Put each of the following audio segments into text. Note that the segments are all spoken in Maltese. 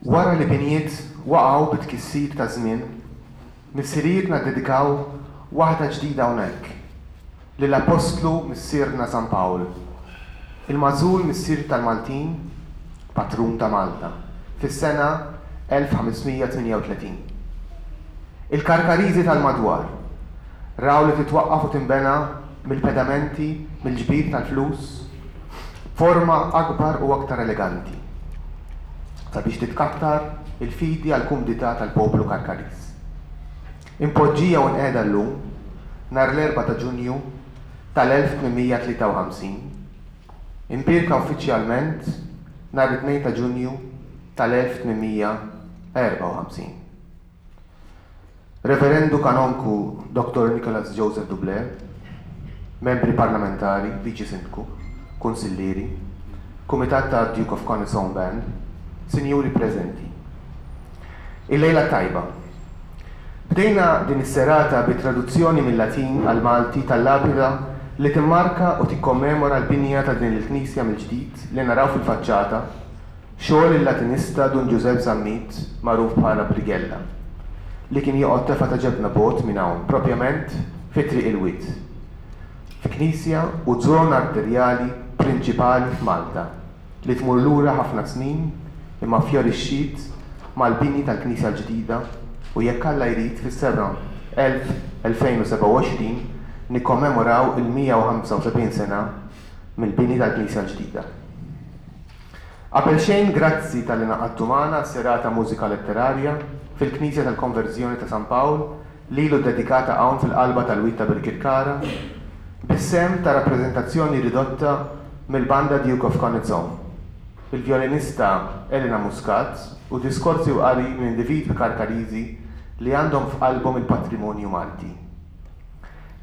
Wara li binjiet waqgħu bit-tkissir taż-żmien, missirijietna ddedikaw waħda ġdida hawnhekk, lill-Appostlu Missierna San Pawl, il-magħżul Missier tal-Maltin, Patrun ta' Malta, fis-sena 1538. Il-Karkariżi tal-madwar raw li titwaqqaf u tinbena mill-pedamenti, mill-ġbir tal-flus, b'forma akbar u aktar eleganti, sabiex titkattar il-fidi għall-kumdità tal-poplu Karkariż. Impoġġija u nqiegħda llum, nhar l-Erbgħa ta' Ġunju tal-1853, imbierka uffiċjalment nhar it-Tnejn ta' Ġunju tal-1854. Reverendu Kanonku Dottor Nicholas Joseph Dublé, Membri Parlamentari, Viċi Sindku, Kunsillieri, Kumitat ta' Duke of Connaught's Own Band, Sinjuri preżenti. Il-lejla t-tajba. Bdejna din is-serata bi traduzzjoni mil-Latin għall-Malti tal-lapida li timmarka u tikkommemora l-binja ta' din il-knisja mill-ġdid li naraw fil-faċċata Xogħol il-Latinista Dun Ġużepp Zammit, magħruf bħala Brighella, li kien joqgħod tefgħa ta' ġebna bogħod minn hawn, propjament fi Triq il-Wied, f'knisja u żona arterjali prinċipali f'Malta li tmur lura ħafna snin imma fjorixxiet mal-bini tal-knisja l-ġdida u jekk Alla jrid fis-sena 2027 nikkommemoraw il-175 sena mill-bini tal-knisja l-ġdida. Qabelxejn grazzi talli ngħaqadtu magħna għas-serata Mużika Letterarja fil-Knisja tal-Konverżjoni ta' San Pawl lilu ddedikata hawn fil-qalba tal-Wied ta' Birkirkara bis-sehem ta' rappreżentazzjoni ridotta mill-Banda Duke of Connaught's Own, il-vjolinista Elena Muscat u diskorsi u qari minn individwi Karkariżi li għandhom f'qalbhom il-patrimonju Malti.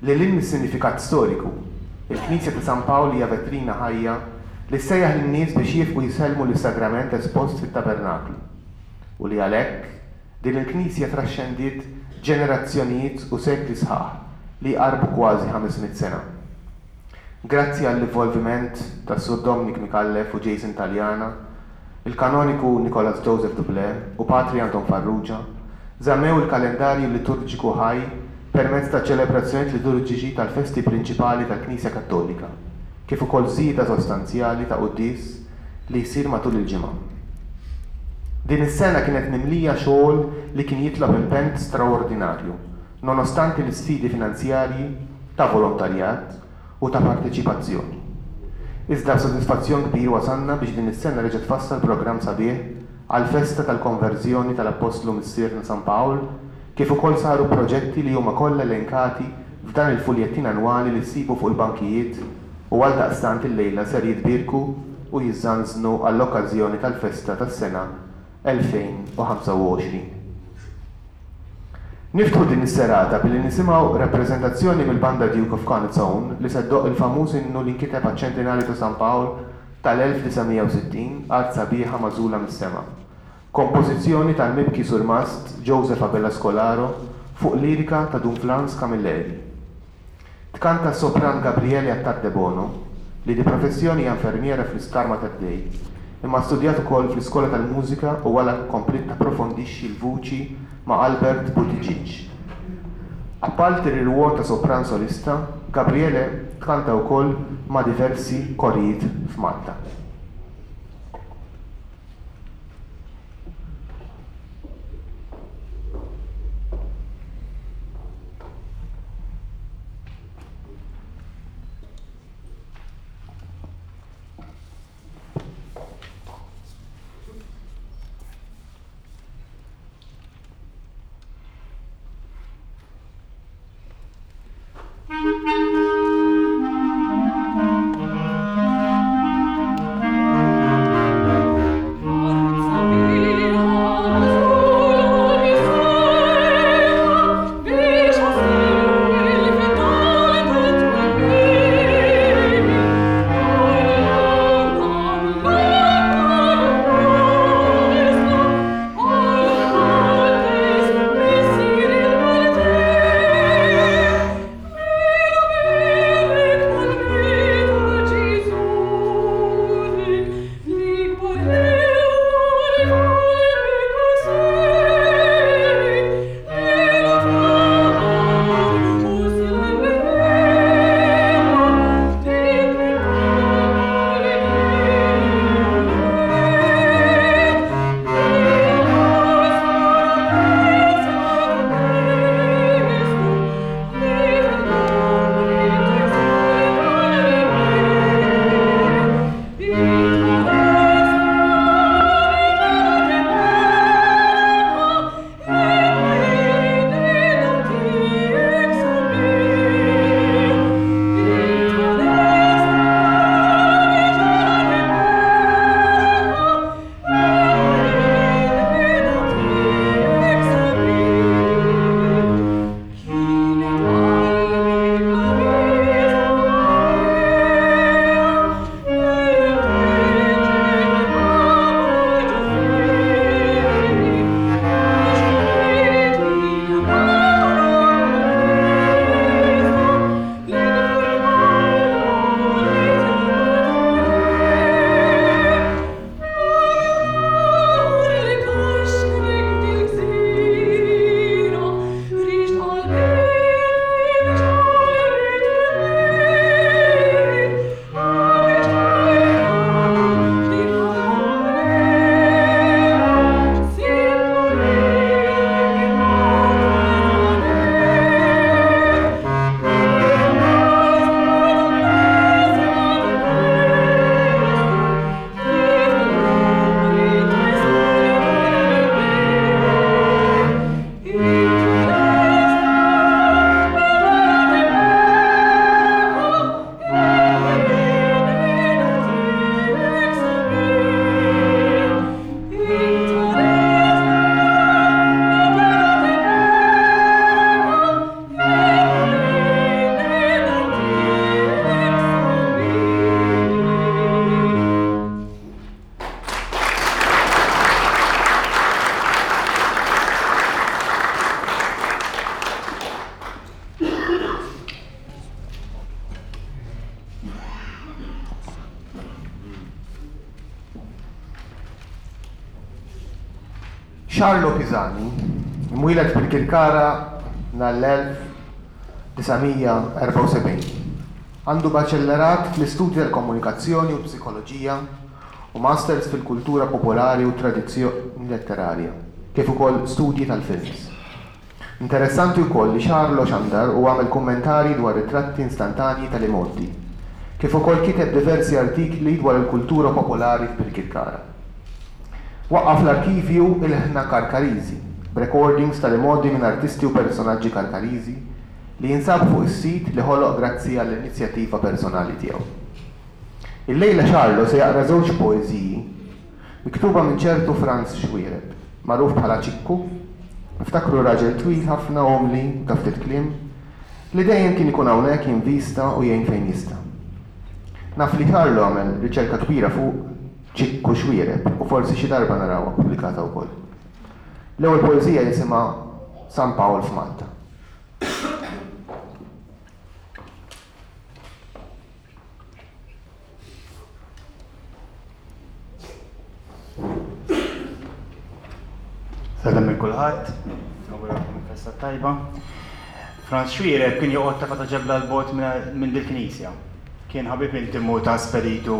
Lil hinn mis-sinifikat storiku, il-Knisja ta' San Pawl hija vetrina ħajja li ssejjaħ lin-nies biex jiefqu jsellmu lis-Sagrament espost fit-tabernaklu, u li għalhekk, din il-knisja traxxendiet ġenerazzjonijiet u sekli sħaħ li jqarrbu kważi 500 sena. Grazzi għall-involviment tas-Sur Dominic Micallef u Jason Taliana, il-Kanoniku Nicholas Joseph Dublé u Patri Anton Farrugia żammew il-kalendarju liturġiku ħaj permezz ta' ċelebrazzjonijiet liturġiċi tal-festi prinċipali tal-Knisja Kattolika, kif ukoll żieda sostanzjali ta' quddies li jsir matul il-ġimgħa. Din is-sena kienet mimlija xogħol li kien jitlob impenn straordinarju nonostanti l-isfidi finanzjarji, ta' volontarjat u ta' parteċipazzjoni. Iżda b'sodisfazzjon kbir wasalna biex din is-sena reġa' tfassal programm sabiħ għall-festa tal-konverżjoni tal-Appostlu Missierna San Pawl kif ukoll saru proġetti li huma kollha elenkati f'dan il-fuljettin annwali li ssibu fuq il-bankijiet u għaldaqstant illejla ser jitbierku u jiżżanżnu għall-okkażjoni tal-festa tas-sena 2025. Niftħu din is-serata billi nisimgħu rappreżentazzjoni mill-Banda Duke of Connaught's Own li se ddoqq il-famuż innu li nkiteb għaċ-ċentinarju ta' San Pawl tal-1960, Art Sabiħa Magħżula mis-Sema. Kompożizzjoni tal-mibki Surmast Joseph Abela Scolaro fuq lirika ta' Dun Frans Camilleri. Tkanta s-sopran Gabriele Attard Debono, li di professjoni hija infermiera fl-Isptar Mater Dei, imma studjat ukoll fl-Iskola tal-Mużika u wara kompliet tapprofondixxi l-vuċi ma' Albert Buttigieg. Apparti r-rwol ta' sopran solista, Gabriele tkanta wkoll ma' diversi korijiet f'Malta. Charlo Pisani, imwieled fil-Kirkara nhar l-1974, għandu Baċellerat fl-Istudji tal-Komunikazzjoni u l-Psikoloġija u Masters fil-Kultura Popolari u Tradizzjoni Letterarja, kif ukoll Studji tal-Films. Interessanti wkoll li Charlo xandar u għamel kummentarji dwar ritratti instantanji tal-imgħoddi, kif ukoll kiteb diversi artikli dwar il-kultura popolari f'Birkirkara. Waqqaf l-arkivju Ilħna Karkariżi, b'recordings tal-imgħoddi minn artisti u personaġġi Karkariżi li jinsabu fuq is-sit li ħoloq grazzi għall-inizjattiva personali tiegħu. Illejla Charlo se jaqra żewġ poeżiji Miktuba minn ċertu Frans Xuereb, magħruf bħala Ċikku, niftakru raġel twil ħafna, umli u ta' ftit kliem, li dejjem kien ikun hawnhekk jinvista u jgħin fejn jista'. Naf li Carlo għamel riċerka kbira fuq Ċikku Xuereb u forsi xi darba narawha ppubblikata wkoll. L-ewwel poeżija jisimha San Pawl f'Malta. Salam il kulħadd, nawguralkom il-festa tajba. Franz Xuereb kien joqgħod ta' ta' ġebla l-bot minn dil-knisja. Kien ħabib intimu ta' Speditu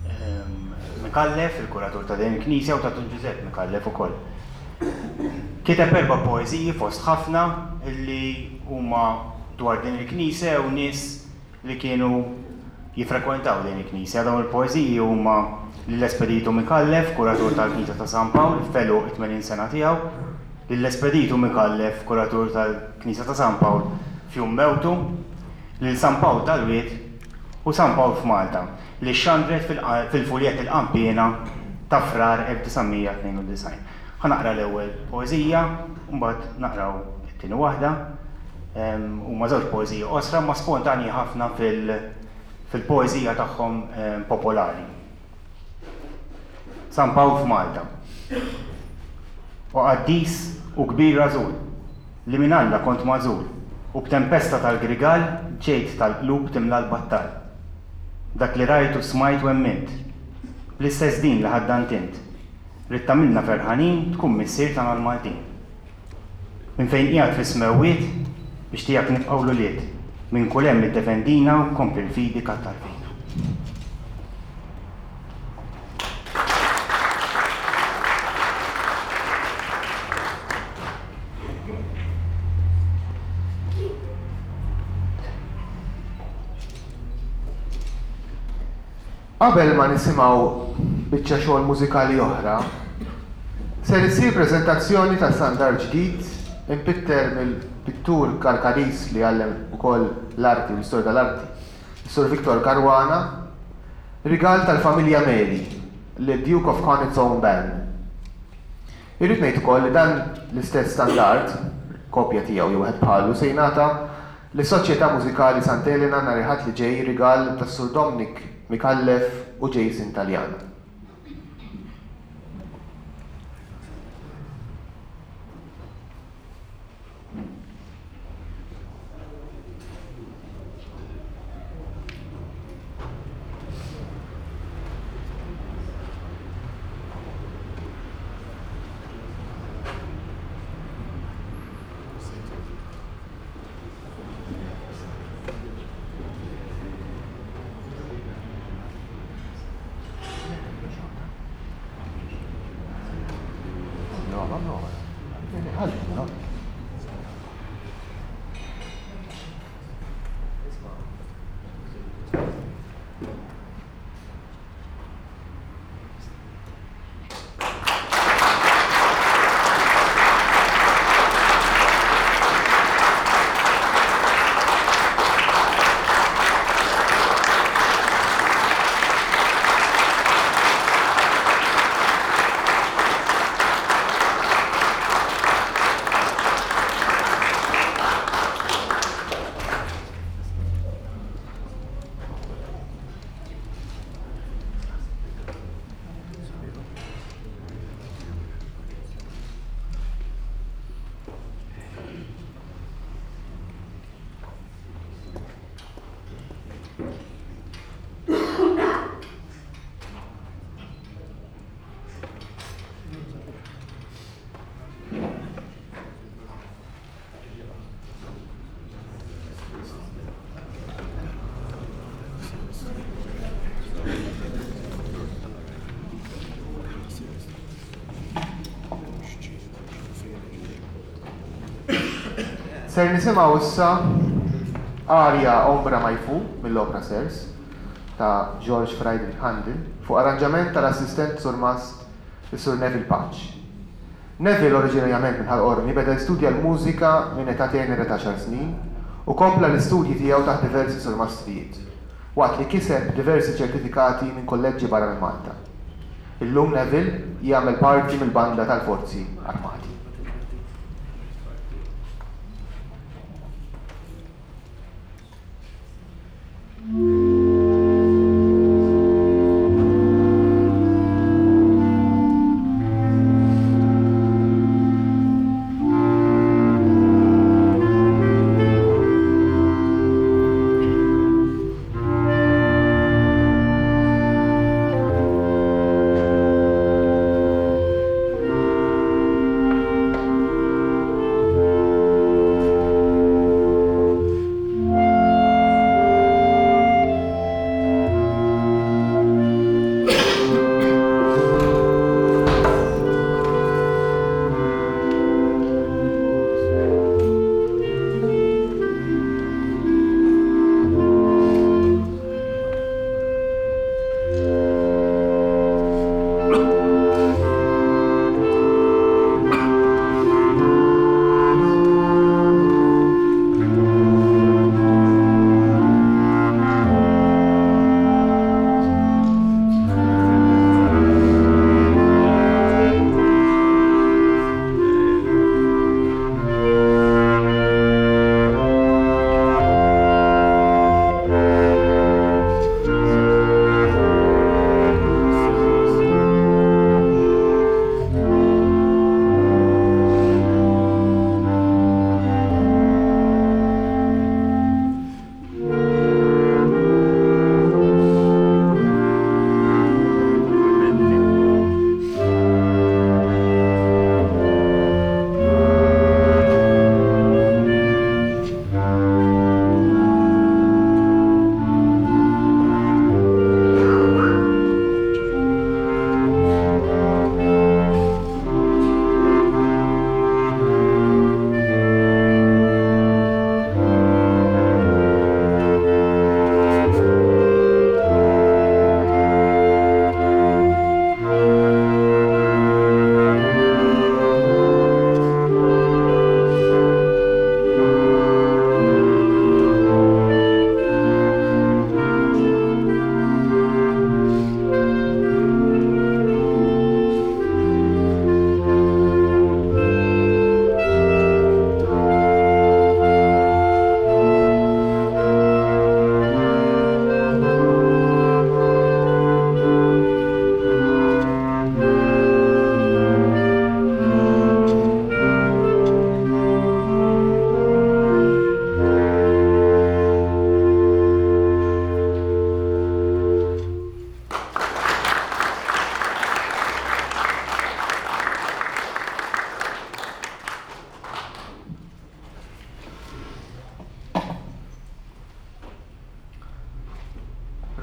ehm, Mikallef, il-kuratur ta' din il-knisja u ta' Dun Ġużepp Mikallef ukoll. Kiteb erba' poeżiji fost ħafna illi huma dwar din il-knisja u nies li kienu jiffrekwentaw din il-knisja. Dawn il-poeżiji huma lil Espedito Micallef, kuratur tal-Knisja ta' San Pawl, f'għeluq it-80 sena tiegħu, lil Espedito Micallef, kuratur tal-Knisja ta' San Pawl, f'jum mewtu, lil San Pawl tal-Wied u San Pawl f'Malta, li xxandret fil-fuljett Il-Qanpiena ta' Frar 1992. Ħa naqra l-ewwel poeżija u mbagħad naqraw it-tieni waħda. Huma żewġ poeżiji qosra imma spontanji ħafna fil-poeżija tagħhom popolari. San Pawl f'Malta. O qaddis u kbir rażul, li minn Alla kont magħżul, u b'tempesta tal-grigal ġejt tal-qlub timla l-battal. Dak li rajt u smajt u emmint, bl-istess din li ħaddant int, ridt tagħmilna ferħanin tkun missier tagħna l-Maltin. Minn fejn qiegħed fis-smewwiet biex tiegħek nibqgħu l-ulied, minn kull hemm iddefendina u kompli l-fidi kattar fina. Qabel ma nisimgħu biċċa xogħol mużikali oħra, ser issir preżentazzjoni ta' standard ġdid impitter mill-pittur Karkariż li għallem ukoll l-arti u l-istorja tal-arti, is-Sur Victor Caruana, rigal tal-familja Meli lid-Duke of Connaught's Own Band. Irrid ngħid ukoll li dan l-istess standard, kopja tiegħu jew wieħed bħalu, se jingħata Lis-Soċjetà Mużikali Sant'Elena nhar il-Ħadd li ġej rigal tas-Sur Dominic Micallef u Jason Taliana. Ser nisimgħu issa aria Ombra Mai Fu mill-opra Sers ta' George Friedrich Handel fuq arranġament tal-assistent surmast is-Sur Neville Pace. Neville oriġinarjament minn Ħal Qormi beda jistudja l-mużika minn età tenera ta' għaxar snin u kompla l-istudji tiegħu taħt diversi surmastrijiet waqt li kiseb diversi ċertifikati minn kulleġġi barra minn Malta. Illum Neville jagħmel parti mill-banda tal-Forzi Armati.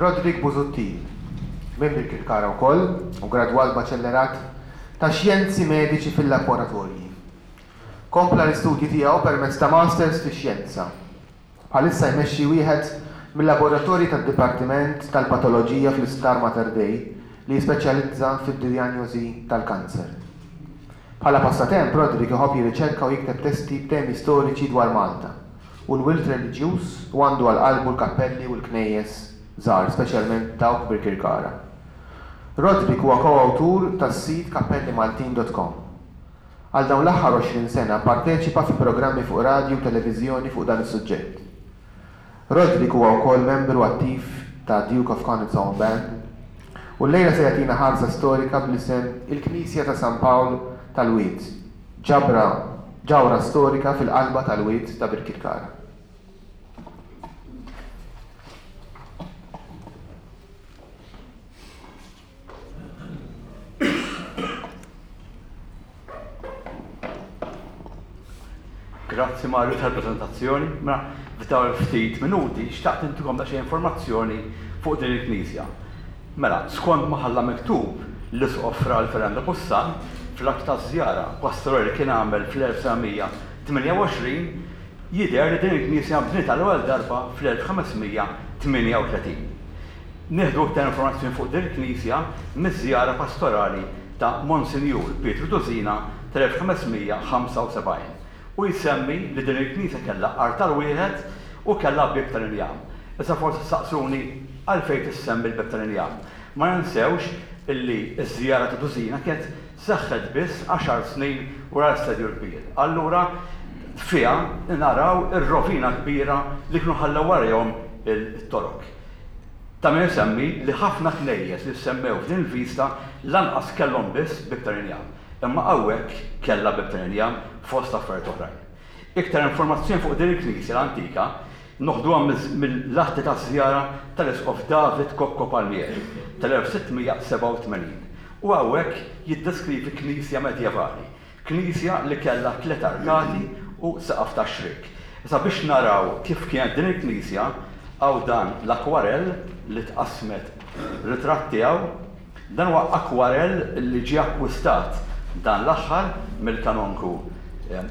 Roderick Busuttil, minn Birkirkara wkoll u gradwat Baċellerat ta' Xjenzi Mediċi fil-Laboratorji. Kompla l-istudji tiegħu permezz ta' Masters fix-Xjenza. Bħalissa jmexxi wieħed mil-laboratorji tad-Dipartiment tal-Patoloġija fl-Isptar Mater Dei li jispeċjalizza fid-dijanjosi tal-kanser. Bħala passatemp, Roderick iħobb jirriċerka u jikteb testi b'temi storiċi dwar Malta u l-wirt reliġjuż u għandu għal qalbu l-kappelli u l-knejjes żgħar, speċjalment dawk f'Birkirkara. Roderick huwa ko-awtur tas-sit kappellimaltin dot com. Għal dawn l-aħħar 20 sena pparteċipa fi programmi fuq radju u televiżjoni fuq dan is-suġġett. Roderick huwa wkoll membru attiv ta' Duke of Connaught's Own Band u llejla se jagħtina ħarsa storika bl-isem Il-Knisja ta' San Pawl tal-Wied, ġabra ġawhra storika fil-qalba tal-Wied ta' Birkirkara. Grazzi Mario tal-prezentazzjoni. Mela, f'dawn il-ftit minuti xtaqt intikom daqsxejn informazzjoni fuq din il-knisja. Mela, skont ma ħalla miktub l-Isqof Fra Fernando Bussan fl-att ta' żjara pastorali li kien għamel fl-1928. Jidher li din il-knisja nbniet għall-ewwel darba fl-1538. Nieħdu iktar informazzjoni fuq din il-knisja miż-żjara pastorali ta' Monsinjur Pietru Dusina tal-1575 u jsemmi li din il-knisja kellha artal wieħed u kellha bieb tal-injam. Issa forsi ssaqsuni għalfejn tissemmi l-bieb tal-injam. Ma ninsewx illi ż-żjara ta' Dusina kienet seħħet biss għaxar snin wara l-Assedju l-Kbir. Allura fiha naraw ir-rovina kbira li kienu ħallew warajhom it-Torok. Ta' min isemmi li ħafna knejjes li ssemmew f'din il-vista lanqas kellhom biss bieb tal-injam, imma hawnhekk kellha bieb tal-injam fost affarijiet oħrajn. Iktar informazzjoni fuq din il-knisja l-antika noħduha mill-atti taż-żjara tal-Isqof David Cocco Palmieri tal-1687 u hawnhekk jiddeskrivi knisja medjevali, knisja li kellha tliet arkati u saqaf tax-xriek. Issa biex naraw kif kienet din il-knisja hawn dan l-akwarell li tqassmet ritratt tiegħu. Dan huwa akwarell li ġie akkwistat dan l-aħħar mill-kanonku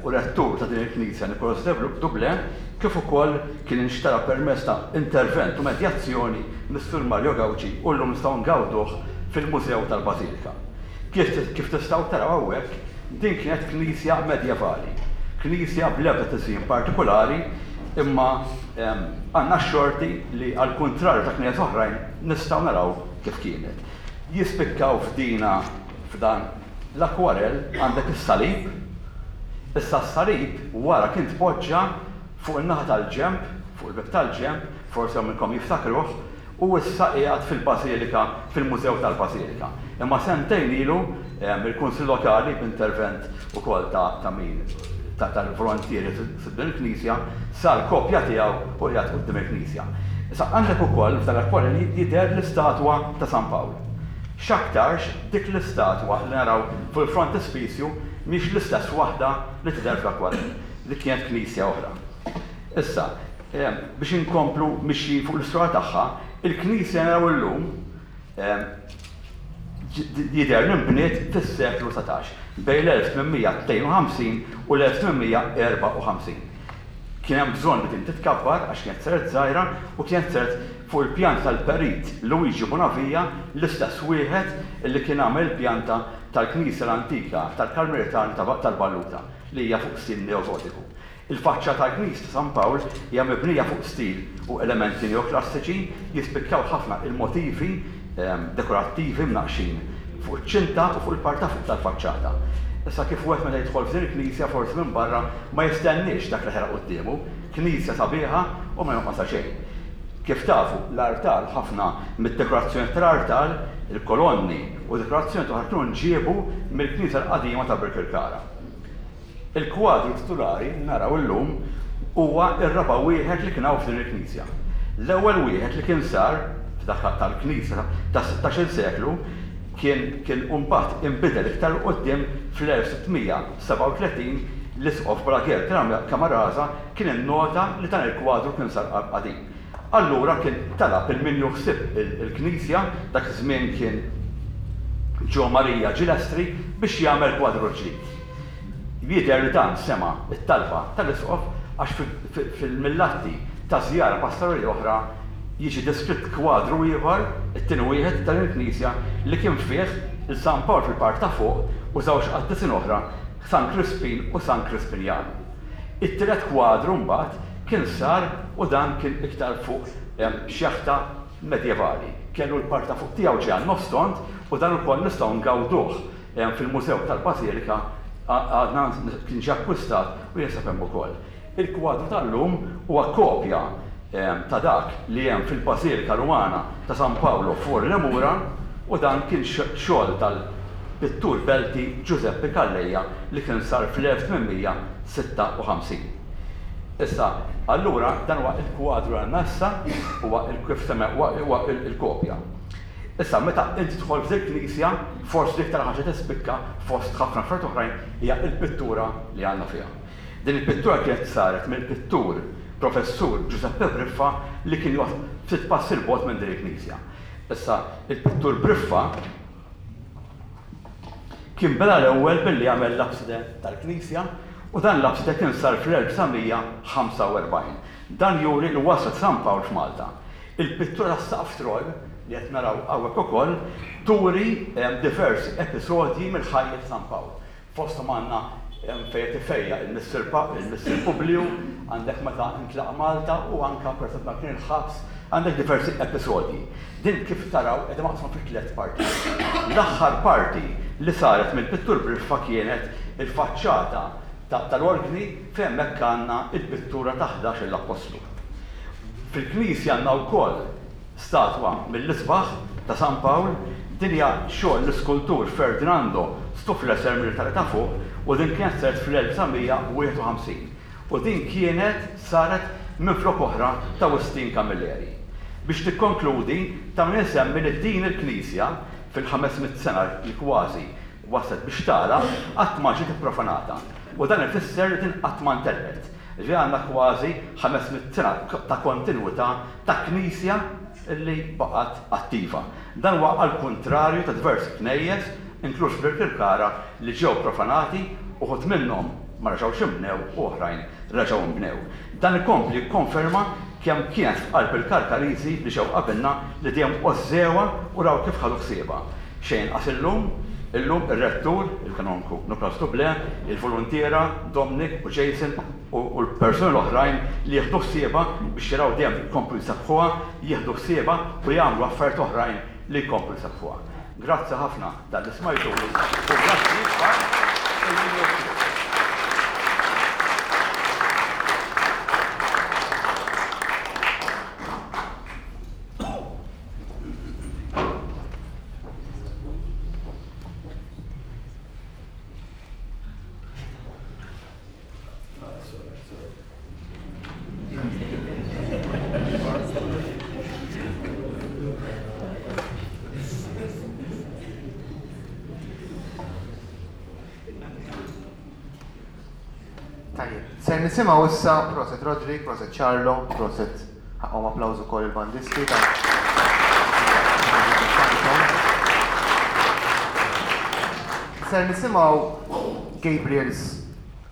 u rettur ta' din il-knisja Nicolas de Dublin, kif ukoll kien inxtara permezz ta' intervent u medjazzjoni mis-Sur Mario Gauci u llum nistgħu ngawduh fil-Mużew tal-Bażilika. Kif tistgħu taraw hawnhekk, din kienet knisja medjevali, knisja bl-ebda tiżjin partikulari imma għandna x-xorti li għall-kuntrarju ta' knejjes oħrajn nistgħu naraw kif kienet. Jispikkaw f'dina f'dan l-akwarell għandek is-salib. Issa s-salib wara kien tpoġġa fuq in-naħa tal-ġenb, fuq il-bieb tal-ġenb, forsi hawn minnkom jiftakruh, u issa qiegħed fil-Bażilika, fil-Mużew tal-Bażilika. Imma sentejn ilu il-Kunsill Lokali b'intervent ukoll ta' ta' min tal-volontieri f'din il-knisja, sar kopja tiegħu u qiegħed quddiem il-knisja. Issa għandek ukoll f'dan l-akwarell jidher l-istatwa ta' San Pawl. X'aktarx dik l-istatwa li naraw fuq il-frontispizju mhix l-istess waħda li tidher fl-akwarell, dik kienet knisja oħra. Issa, biex inkomplu mixjin fuq l-istorja tagħha, il-knisja li naraw illum jidher li nbniet fis-seklu 19, bejn l-1852 u l-1854. Kien hemm bżonn li din titkabbar għax kienet saret żgħira u kienet saret fuq il-pjanta tal-Perit Luigi Bonavia, l-istess wieħed li kien għamel il-pjanta tal-knisja l-antika tal-Karmelitani tal-Balluta li hija fuq stil neogotiku. Il-faċċata tal-knisja ta' San Pawl hija mibnija fuq stil u elementi neoklassiċi, jispikkaw ħafna il-motivi dekorattivi mnaqqxin fuq iċ-ċinta u fuq il-parti ta' fuq tal-faċċata. Issa kif wieħed meta jidħol f'din il-knisja forsi minn barra ma jistenniex dak li ħera quddiemu, knisja sabiħa u ma jonqosha xejn. Kif tafu, l-artal, ħafna mid-dekorazzjonijiet tal-artal, il-kolonni u dekorazzjonijiet oħra kienu nġiebu mill-knisja l-qadima ta' Birkirkara. Il-kwadru titulari li naraw illum huwa r-raba' wieħed li kien hawn f'din il-knisja. L-ewwel wieħed li kien sar f'dak tal-knisja tas-sittax-il seklu kien kien u mbagħad inbidel iktar 'il quddiem fl-1637 l-Isqof Balaguer Camarasa kien innota li dan il-kwadru kien sar qadim. Allura kien talab 'il min jieħu ħsieb il-knisja, dak iż-żmien kien Gio Maria Gilestri, biex jagħmel kwadru ġdid. Jidher li dan sema' t-talba tal-Isqof għax fil-mill-atti ta' żjara pastorali oħra jiġi deskritt kwadru ieħor, it-tieni wieħed ta' din il-knisja, li kien fih 'il San Pawl fil-parti ta' fuq u żewġ qaddisin oħra, San Krispin u San Krispinjanu. It-tielet kwadru mbagħad kien sar u dan kien iktar fuq xjaħta medjevali. Kellu l-parti ta' fuq tiegħu ġejja nofs tond u dan ukoll nistgħu ngawduh Fil-Mużew tal-Bażilika għadna kien ġie akkwistat u jinsab hemm ukoll. Il-kwadru tal-lum huwa kopja ta' dak li hemm fil-Bażilika Rumana ta' San Paolo fuori le Mura u dan kien xogħol tal-pittur Belti Giuseppe Calleja li kien sar fl-1856. Issa, allura dan huwa l-kwadru li għandna issa, huwa kif semmew huwa l-kopja. Issa, meta inti tidħol f'dil knisja, forsi l-iktar ħaġa tispikka fost ħafna affarijiet oħrajn hija l-pittura li għandna fiha. Din il-pittura kienet saret mill-pittur Professur Giuseppe Briffa li kien joqgħod ftit passi 'l bogħod minn din il-knisja. Issa, il-pittur Briffa kien beda l-ewwel billi għamel l-apside tal-knisja. U dan l-apside kien sar fl-1945. Dan juri l-wasla ta' San Pawl f'Malta. Il-pittura tas-saqaf troll, li qed naraw hawnhekk ukoll, turi diversi episodji mill-ħajja ta' San Pawl. Fosthom għandna fejn qed ifejjaq il-Missier il-Missier Publiju, għandek meta ntlaqa' Malta u anke pereżempju meta kien il-ħabs, għandek diversi episodji. Din kif taraw qiegħda maqsuma fi tliet partijiet. L-aħħar parti li saret mill-pittur Briffa kienet il-faċċata tal-orgni fejn hemmhekk għandna l-pittura ta' 11-il appostlu. Fil-knisja għandna wkoll statwa mill-isbaħ ta' San Pawl, din hija xogħol l-iskultur Ferdinando Stuflesser mill-Italja ta' Fuq u din kienet saret fl-1951 u din kienet saret minflok oħra ta' Wistin Camilleri. Biex nikkonkludi, ta' min insemmi li din il-knisja fil-500 sena li kważi waslet biex tagħlaq, qatt ma ġiet ipprofanata u dan ifisser li din qatt ma ntelqet. Jiġifieri għandna kważi 500 sena ta' kontinwità ta' knisja li baqgħet attiva. Dan huwa għall-kuntrarju ta' diversi knejjes, inkluż f'Birkirkara, li ġew profanati, uħud minnhom ma reġgħux inbnew u oħrajn reġgħu nbnew. Dan ikompli jikkonferma kemm kienet f'qalb il-Karkariżi li ġew qabilna li dejjem għożżewha u raw kif ħadu ħsiebha. Xejn inqas illum, illum ir-Rettur, il-Kanonku Nicolas Dublé, il-voluntiera Dominic u Jason u l-persuni l-oħrajn li jieħdu ħsiebha biex jaraw dejjem jkomplu jsabbħuha, jieħdu ħsiebha u jagħmlu affarijiet oħrajn li jkomplu jsabbħuha. Grazzi ħafna talli smajtuni u grazzi ikbar il-min Tajjeb, ser nisimgħu issa proset Roderick, proset Charlo, proset ħaqhom applawż ukoll il-bandisti ta' Ser nisimgħu Gabriel's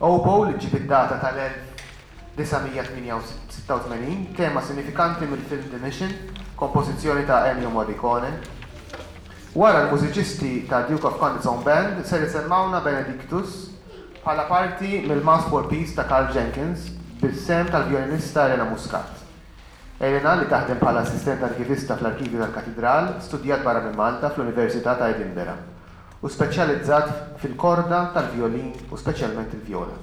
Oboe li ġġib id-data tal-1986, tema sinifikanti mill-film The Mission, kompożizzjoni ta' Ennio Morricone. Wara l-mużiċisti ta' Duke of Condit's Own Band ser isemmgħuna Benedictus bħala parti mill-Mass for Peace ta' Karl Jenkins bis-sehem tal-vjolinista Elena Muscat. Elena, li taħdem bħala assistent arkivista fl-Arkivju tal-Katidral, studjat barra minn Malta fl-Università ta' Edinburgh u speċjalizzat fil-korda tal-vjolin u speċjalment il-vjola.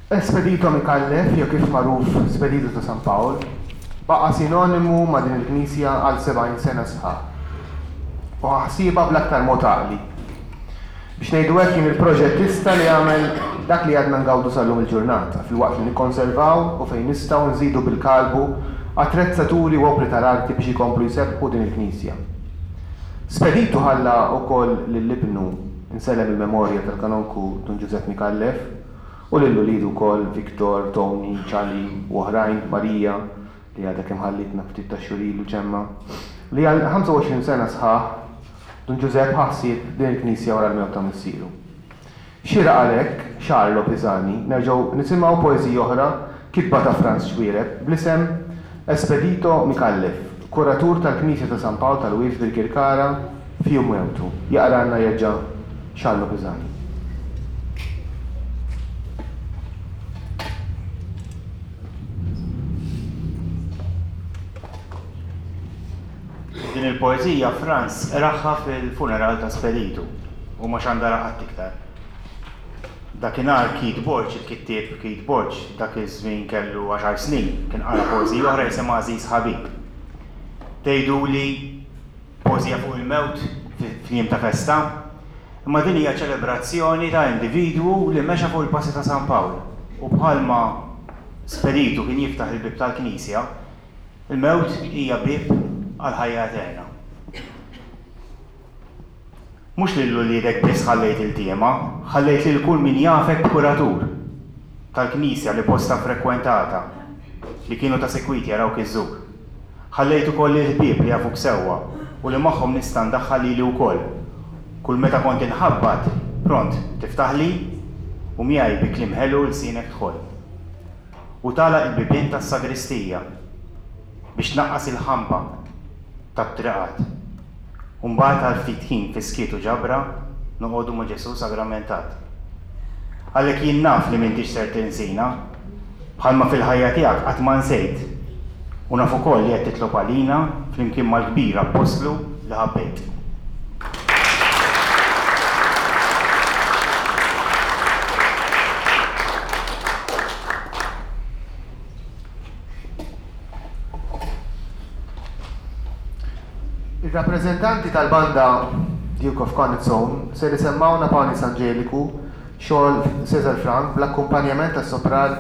Espedito Micallef, jew kif magħruf Spedito ta' San Pawl, baqa' sinonimu ma' din il-knisja għal 70 sena sħaħ. U ħa ħsiebha bl-aktar mod għaqli. Biex ngħidu hekk kien il-proġettista li għamel dak li għadna ngawdu sal-lum il-ġurnata, filwaqt li nikkonservaw u fejn nistgħu nżidu bil-kalbu attrezzaturi u opri tal-arti biex ikomplu jsebbħu din il-knisja. Speditu ħalla wkoll lil ibnu, insellem il-memorja tal-Kanonku Dun Ġużepp Micallef, u lil uliedu wkoll, Victor, Tony, Charlie u oħrajn, Marija, li għadha kemm ħallietna ftit tax-xhur ilu, Ġemma, li għal 25 sena sħaħ Dun Ġużepp ħa ħsieb din il-knisja wara l-mewt ta' missieru. Xieraq għalhekk, Charlo Pisani, nerġgħu nisimgħu poeżija oħra kitba ta' Frans Xuereb bl-isem Espedito Micallef, kuratur tal-Knisja ta' San Pawl tal-Wied f'Birkirkara f'jum mewtu. Jaqralna jerġa' Charlo Pisani. Din il-poeżija Frans qragħha fil-funeral ta' Speditu u ma xandarha qatt iktar. Dakinhar Keith Borg, il-kittieb Keith Borg, dak iż-żmien kellu għaxar snin, kien qara poeżija oħra jisimha Għażiż Ħabib. Tgħiduli poeżija fuq il-mewt f'jiem ta' festa? Imma din hija ċelebrazzjoni ta' individwu li mexa fuq il-passi ta' San Pawl u bħalma Speditu kien jiftaħ il-bieb tal-knisja, il-mewt hija bieb għall-ħajja eterna. Mhux lil uliedek biss ħallejt iltiema, ħallejt lil kull min jafek b'kuratur tal-knisja li bosta frekwentata, li kienu ta' sikwit jarawk iżżur. Ħallejt ukoll lill-ħbieb li jafuk sewwa u li magħhom nista' ndaħħal lili wkoll. Kull meta kont inħabbat, pront tiftaħli u miegħi bi kliem ħelu lsienek tħoll. U tagħlaq il-bibien tas-sagristija biex tnaqqas il-ħamba tat-triqat. U mbagħad għal ftit ħin fis-skiet u ġabra noqogħdu ma' Ġesù sagramentat. Għalhekk jien naf li m'intix ser tinsina, bħalma fil-ħajja tiegħek qatt ma nsejt. U naf ukoll li qed titlob għalina flimkien mal-kbir appostlu li ħabbejt. Ir-rappreżentanti tal-banda Duke of Connaught ser isemmgħuna Panis Angeliku, xogħol Cesar Franck bl-akkumpanjament tas-sopran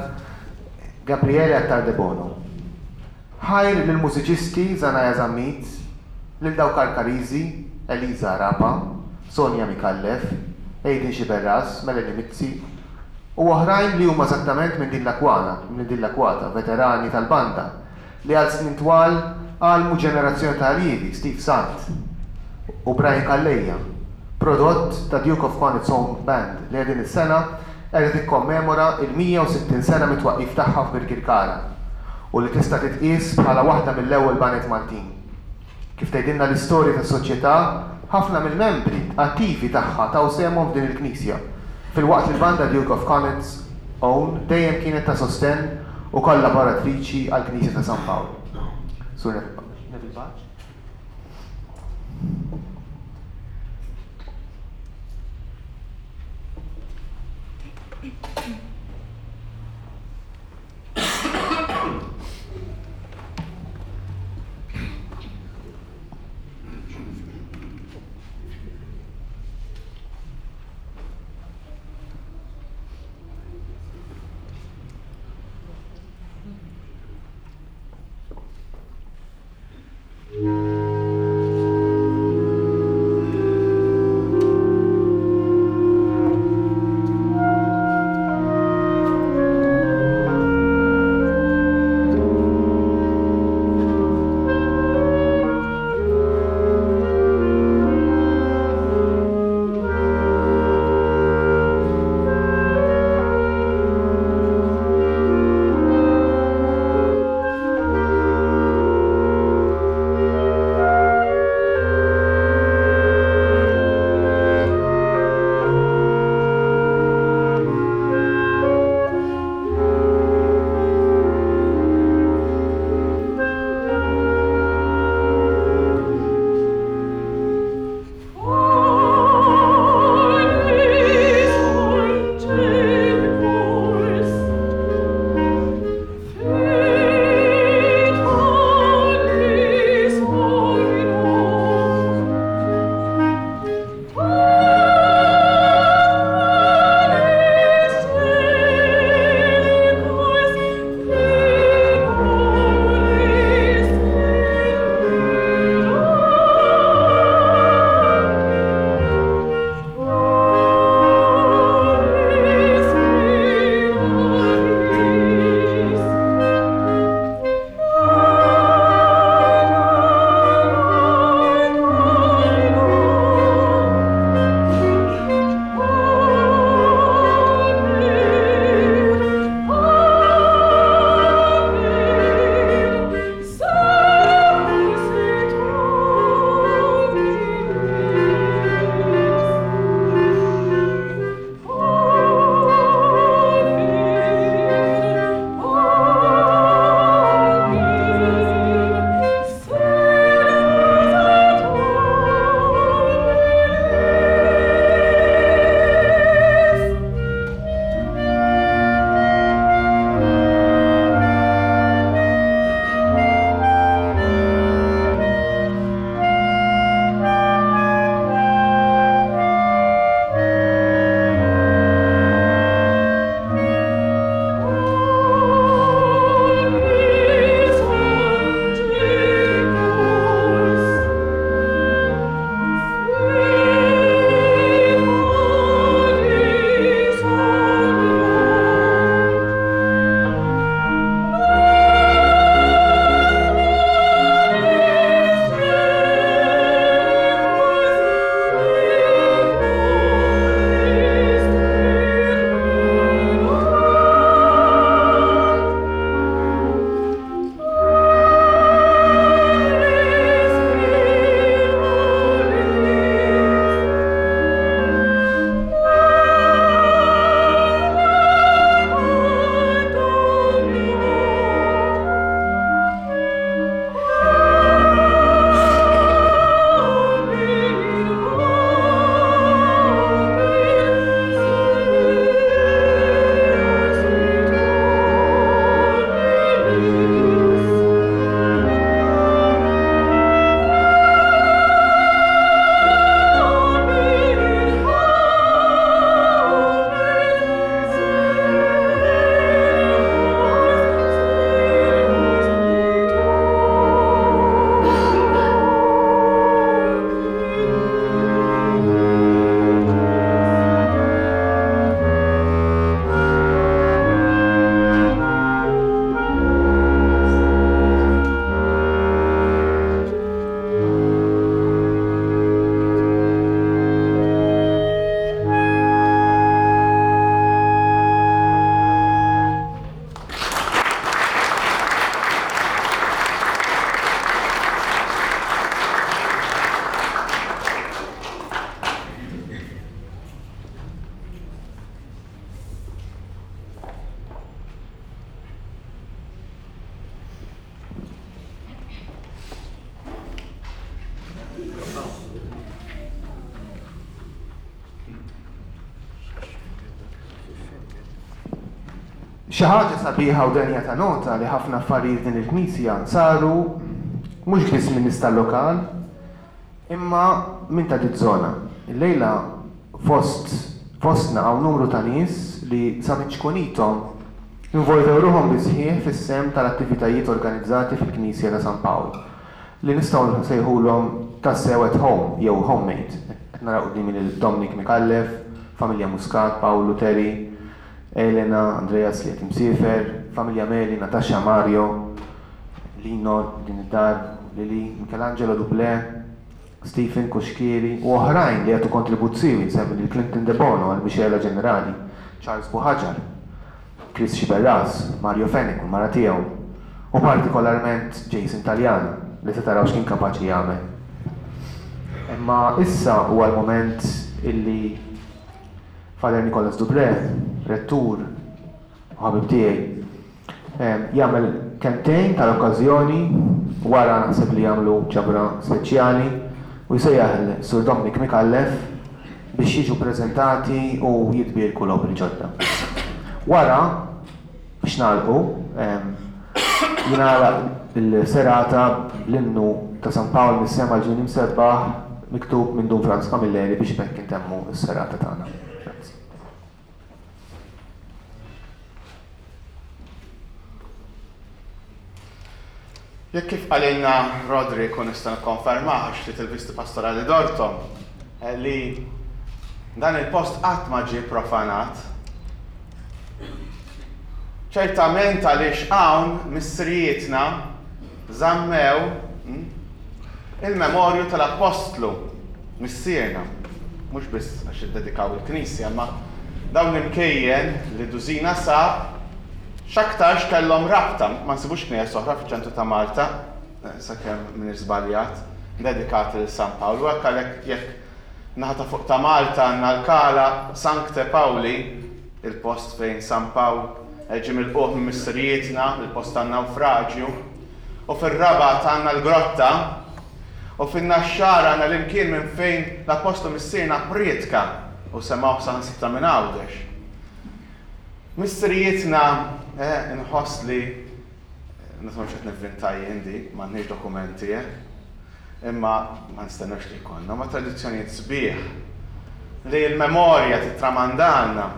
Gabriele Attard Debono. Ħajr lill-mużiċisti Zanaya Zammit, lil dawk Karkariżi, Eliza Arapa, Sonia Micallef, Aiden Sciberras, Melanie Mizzi, u oħrajn li huma eżattament minn din l-akwana, minn din l-akwata, veterani tal-banda, li għal snin twal għallmu ġenerazzjoni ta' allievi, Steve Sant u Brian Calleja, prodott ta' Duke of Connaught's Own Band li din is-sena qiegħda tikkommemora il-160 sena mit-twaqqif tagħha f'Birkirkara u li tista' titqies bħala waħda mill-ewwel baned Maltin. Kif tgħidilna l-istorja tas-Soċjetà, ħafna mill-membri attivi tagħha taw sehemhom f'din il-knisja, filwaqt li l-Banda Duke of Connaught's Own dejjem kienet ta' sostenn u kollaboratriċi għall-Knisja ta' San Pawl. Sur Neville Pace. Xi ħaġa sabiħa u denja ta' nota li ħafna affarijiet f'din il-knisja saru mhux biss minn nies tal-lokal imma minn ta' diż-żona. Illejla fost fostna hawn numru ta' nies li sa minn ċkunithom involvew ruħhom bis-sħiħ fis-sehem tal-attivitajiet organizzati fil-Knisja ta' San Pawl li nistgħu nsejħulhom tassew at home jew homemade. Qed nara quddiemi lil Dominic Micallef, familja Muscat, Pawlu, Terry, Elena, Andreas li qed imsiefer, familja Meli, Natasha, Mario, Lino, din id-dar, Lily, Michelangelo Dublé, Stephen Cuschieri u oħrajn li jagħtu kontribut siewi, nsemmi lil Clinton Debono għall-mixegħla ġenerali, Charles Buhagiar, Chris Sciberras, Mario Fenech u l-mara tiegħu, u partikolarment Jason Taliana li se taraw x'kien kapaċi jagħmel. Imma issa huwa l-mument illi Father Nicholas Dubré, rettur u ħabib tiegħi, jagħmel kelmtejn tal-okkażjoni, wara naħseb li jagħmlu ġabra speċjali u jsejjaħ 'l Sur Dominic Micallef biex jiġu ppreżentati u jitbierku l-opri ġodda. Wara, biex nagħlqu, jingħalaq il-serata bl-innu ta' San Pawl mis-Sema l-Ġnien Imsebbaħ miktub minn Dun Frans Camilleri biex b'hekk intemmu s-serata tagħna. Grazzi. Jekk kif qalilna Roderick u nista' nikkonfermah għax ftit il-visti pastorali dorthom, li dan il-post qatt ma ġie profanat. Ċertament għaliex hawn missirijietna żammew hm, il-memorju tal-appostlu missierna, mhux biss għax iddedikaw il-knisja, imma dawn l-imkejjen li Dużina sab x'aktarx kellhom rabta, ma nsibux knejjes oħra fiċ-ċentru ta' Malta, sakemm m'iniex żbaljat, dedikati lil San Pawl, u hekk għalhekk jekk naħa ta' fuq ta' Malta għandna l-Kala Sancte Pauli, il-post fejn San Pawl ġie milqugħ minn missirijietna, il-post tan-nawfraġju, u fir-Rabat għandna l-Grotta, U fin-Naxxar għandna l-imkien minn fejn l-Appostlu Missierna pprietka u semgħuh saħansitra minn Għawdex. Missirijietna, eh, inħoss li, naf mhux qed nivvinta jien di, m'għandniex dokumenti, eh, imma ma nistennewx li jkollna, ma tradizzjonijiet sbieħ li l-memorja titramandalna.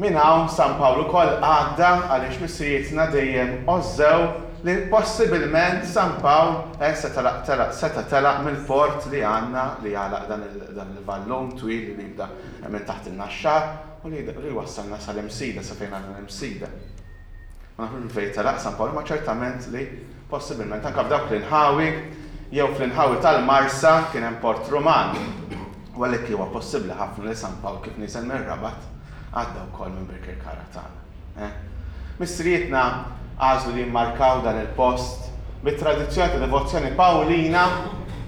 Minn hawn San Pawl ukoll għadda għaliex missirijietna dejjem għożżew li possibilment San Pawl seta' telaq seta' telaq mill-port li għandna li jagħlaq dan dan il-vallun twil li jibda minn taħt in-Naxxar u li li jwassalna sal-Imsida sa fejn għandna l-Imsida. Ma nafux minn fejn telaq San Pawl imma ċertament li possibilment anke f'dawk l-inħawi jew fl-inħawi tal-Marsa kien hemm port Ruman. U għalhekk huwa possibbli ħafna li San Pawl kif niżel mir-Rabat għadda wkoll minn Birkirkara tagħna. Eh? Missirijietna għażlu li jimmarkaw dan il-post bit-tradizzjoni ta' devozzjoni Pawlina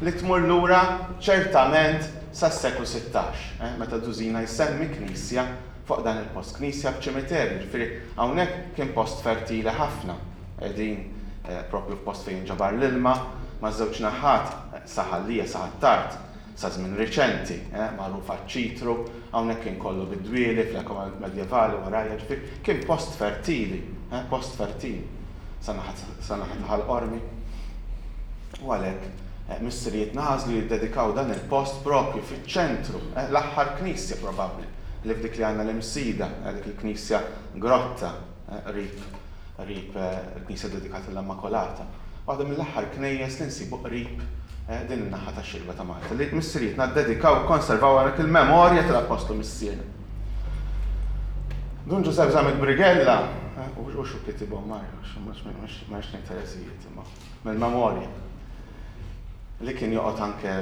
li tmur lura ċertament sas-seklu 16, eh? meta Dużina jsemmi knisja fuq dan il-post, knisja b'ċimiterju, ġifieri hawnhekk kien post fertili ħafna. Qegħdin eh, propju f'post fejn ġabar l-ilma, maż-żewġ naħat, eh, sa Ħal Lija, sa Ħ'Attard, Sa żmien riċenti, magħruf għaċ-ċitru, hawnhekk kien kollu bid-dwieli fl-epoka medjevali warajja, ġifieri kien post fertili, post fertili sa naħa sa naħa ta' Ħal Qormi. U għalhekk missirijietna għażlu jiddedikaw dan il-post proprju fiċ-ċentru, l-aħħar knisja probabbli li f'dik li għandna l-Imsida, dik il-knisja grotta qrib qrib il-knisja ddedikata lill-Immakolata. Waħda mill-aħħar knejjes li nsibu qrib din in-naħa tax-xirba ta' Malta, li missirijietna ddedikaw u kkonservaw hawnhekk il-memorja tal-Appostlu Missierna. Dun Ġużepp Zammit Brighella, u xu kitibhom Mario, ma rridx ngħid ereżijiet imma mill-memorja, li kien joqgħod anke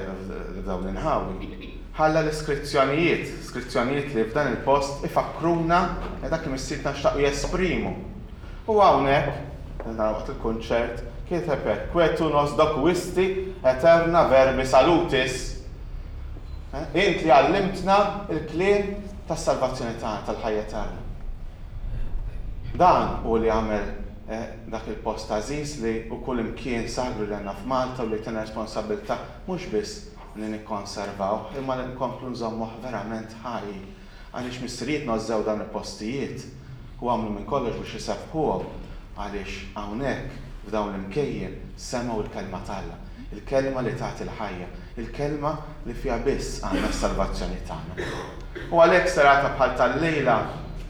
f'dawn l-inħawi, ħalla l-iskrizzjonijiet, skrizzjonijiet li f'dan il-post ifakkruna dak li missirietna xtaqu jesprimu. U hawnhekk, nara waqt il-kunċert, kiteb hekk, Que tu nos docuisti aeterna verbi salutis. Int li għallimtna l-kliem tas-salvazzjoni tagħna, tal-ħajja eterna. Dan hu li għamel dak il-post għażiż li hu kull imkien sagru li għandna f'Malta u li jtina responsabbiltà mhux biss li nikkonservawh imma li nkomplu nżommuh verament ħaj. Għaliex missirijietna għożżew dawn il-postijiet? U għamlu minn kollox biex isebbħuhom għaliex hawnhekk, f'dawn l-imkejjen, semgħu l-Kelma t'Alla, il-Kelma li tagħti l-ħajja, il-Kelma li fiha biss għandna s-salvazzjoni tagħna. U għalhekk serata bħal tal-lejla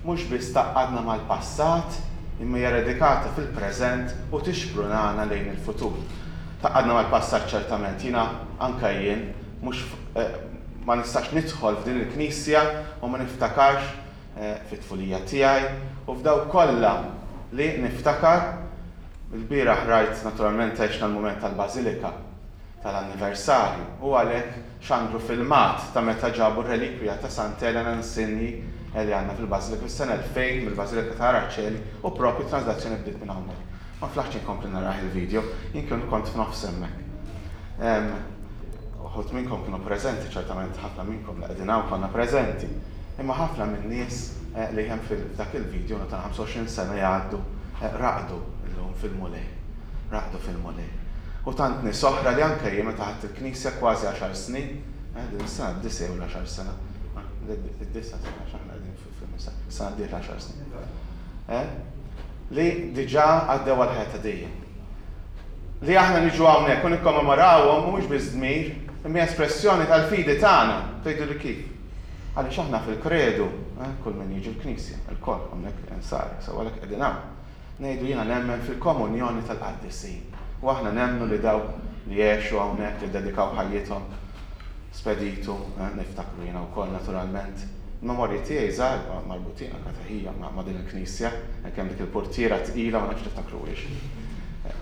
mhux biss tgħaqqadna mal-passat, imma hija radikata fil-preżent u tixprunana lejn il-futur. Tgħaqqadna mal-passat ċertament, jiena, anke jien, mhux ma nistax nidħol f'din il-knisja u ma niftakarx fit-tfulija tiegħi u f'dawk kollha li niftakar. Ilbieraħ rajt naturalment għexna l-mument tal-Bażilika tal-anniversarju u għalhekk xandru filmat ta' meta ġabu r-relikwija ta' Sant'Elena Insinji li għandna fil-Bażilika fis-sena 2000 mill-Bażilika ta' Araceli u proprju t-translazzjoni bdiet minn hawnhekk. Ma flaħtx inkompli narah il-video, jien kien kont f'nofs hemmhekk. Uħud minnkom kienu preżenti, ċertament ħafna minnkom li qegħdin hawn konna preżenti. Imma ħafna min-nies li hemm f'dak il-video ta' 25 sena jgħaddu raqdu llum fil-Mulej. Raqdu fil-Mulej. U tant nies oħra li anke jien meta ħadt il-Knisja kważi għaxar snin, din is-sena d-disa' jew l-għaxar sena, id-disa' sena għax aħna qegħdin fil-misa, is-sena d-dieħla għaxar snin. Li diġà għaddew għall-ħajja ta' dejjem. Li aħna niġu hawnhekk u nikkommemorawhom mhuwiex biss dmir, imma hija espressjoni tal-fidi tagħna. Tgħiduli kif? Għaliex aħna fil-kredu, kull min jiġi l-knisja, ilkoll hawnhekk insara, sew għalhekk qegħdin hawn, ngħidu jiena nemmen fil-komunjoni tal-qaddisin. U aħna nemmnu li dawk li għexu hawnhekk, li ddedikaw ħajjithom, Speditu, niftakru jiena wkoll naturalment. Il-memorji tiegħi żgħar marbutin anke ta' ħija ma' din il-knisja, hekk hemm dik il-purtiera tqila ma nafx tiftakruhiex.